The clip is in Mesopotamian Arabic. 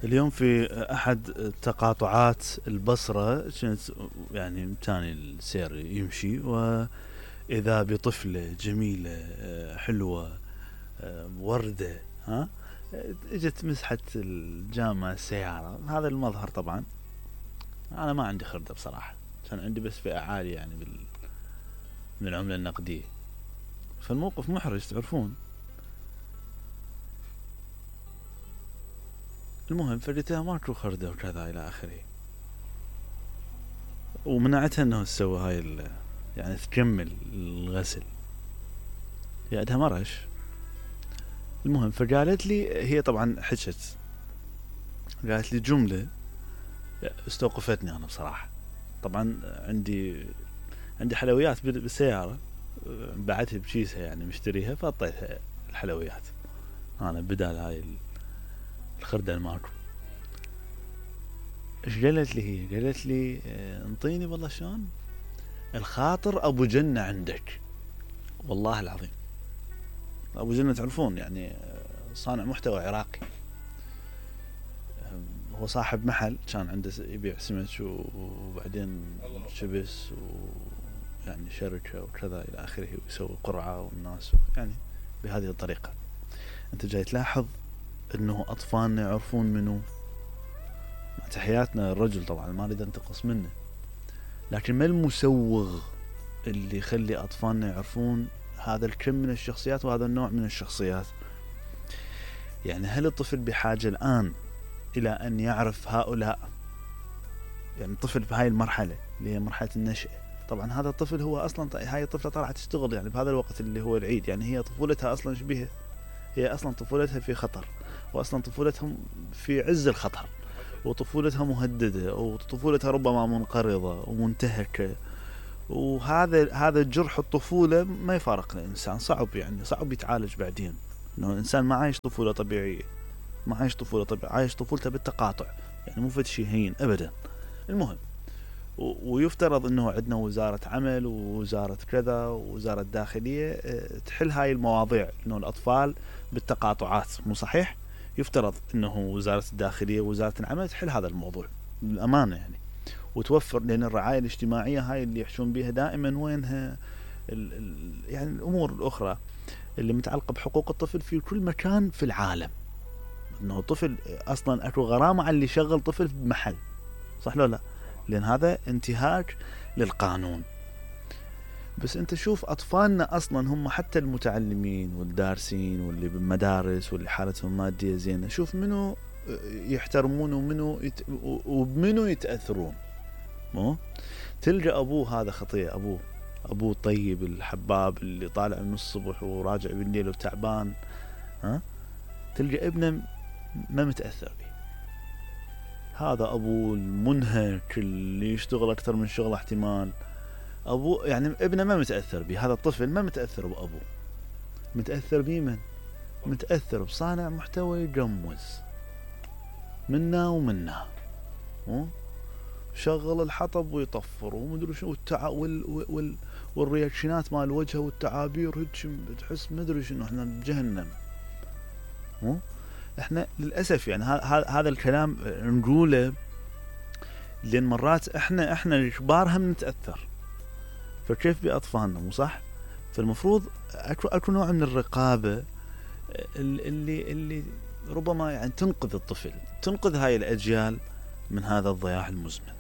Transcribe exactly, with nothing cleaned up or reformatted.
اليوم في أحد تقاطعات البصرة كنت يعني تاني السير يمشي، وإذا بطفلة جميلة حلوة وردة ها اجت مسحت الجامعة السيارة. هذا المظهر طبعا أنا ما عندي خردة بصراحة، كان عندي بس فئة عالية يعني بال من العملة النقدية، فالموقف محرج تعرفون. المهم فردتها ماكو خردة وكذا إلى آخره، ومنعتها أنه تسوي هاي يعني تكمل الغسل، هي عندها مرش. المهم فقالت لي، هي طبعا حكت قالت لي جملة استوقفتني أنا بصراحة. طبعا عندي عندي حلويات بالسيارة بعتها بكيسها يعني مشتريها، فأعطيتها الحلويات أنا بدال هاي الخردة الماكو. ايش قالت لي هي؟ قالت لي انطيني والله شلون الخاطر ابو جنة عندك. والله العظيم ابو جنة تعرفون يعني صانع محتوى عراقي، هو صاحب محل كان عنده يبيع سمك وبعدين شبس ويعني شركة وكذا الى اخره، ويسوي قرعة والناس يعني بهذه الطريقة. انت جاي تلاحظ انه اطفالنا يعرفون منه، مع تحياتنا الرجل طبعا ما اريد انتقص منه، لكن ما المسوغ اللي يخلي اطفالنا يعرفون هذا الكم من الشخصيات وهذا النوع من الشخصيات؟ يعني هل الطفل بحاجة الان الى ان يعرف هؤلاء؟ يعني الطفل بهاي المرحلة اللي هي مرحلة النشأة، طبعا هذا الطفل هو اصلا هاي الطفلة طالعة تشتغل يعني بهذا الوقت اللي هو العيد، يعني هي طفولتها اصلا شبيهة، هي اصلا طفولتها في خطر، واصلا طفولتهم في عز الخطر، وطفولتها مهددة، وطفولتها ربما منقرضة ومنتهكة. وهذا هذا جرح الطفولة ما يفارق الإنسان، صعب يعني صعب يتعالج بعدين، إنه الإنسان ما عايش طفولة طبيعية، ما عايش طفولة طبيعية، عايش طفولته بالتقاطع، يعني مو فد شيء هين أبدا. المهم ويفترض إنه عندنا وزارة عمل ووزارة كذا ووزارة داخلية تحل هاي المواضيع، إنه الأطفال بالتقاطعات مو صحيح؟ يفترض إنه وزارة الداخلية ووزارة العمل تحل هذا الموضوع بالأمانة يعني، وتوفر، لأن الرعاية الاجتماعية هاي اللي يحشون بها دائما وينها ال ال يعني الأمور الأخرى اللي متعلقة بحقوق الطفل في كل مكان في العالم. إنه طفل أصلا أكو غرامة على اللي يشغل طفل بمحل، صح لو لا؟ لأن هذا انتهاك للقانون. بس أنت شوف أطفالنا أصلا هم حتى المتعلمين والدارسين واللي بالمدارس واللي حالتهم مادية زينة، شوف منو يحترمون ومنو يت... وبمنو يتأثرون. مو تلقى أبوه هذا خطية، أبوه أبوه طيب الحباب اللي طالع من الصبح وراجع بالليل وتعبان، ها تلقى ابنه ما متأثر به. هذا أبوه المنهك اللي يشتغل أكثر من شغله احتمال، أبوه يعني ابنه ما متأثر به، هذا الطفل ما متأثر بأبوه، متأثر بيه من؟ متأثر بصانع محتوى يجمز منا ومنا، شغل الحطب ويطفر ومدري شنو والتع... وال... وال... والرياكشنات مال وجهه والتعابير هيك تحس مدري شنو احنا بجهنم. مو احنا للأسف يعني هذا الكلام نقوله لأن مرات احنا احنا الكبار هم نتأثر، فكيف بأطفالنا؟ مو صح؟ فالمفروض اكو اكو نوع من الرقابة اللي اللي ربما يعني تنقذ الطفل، تنقذ هاي الأجيال من هذا الضياع المزمن.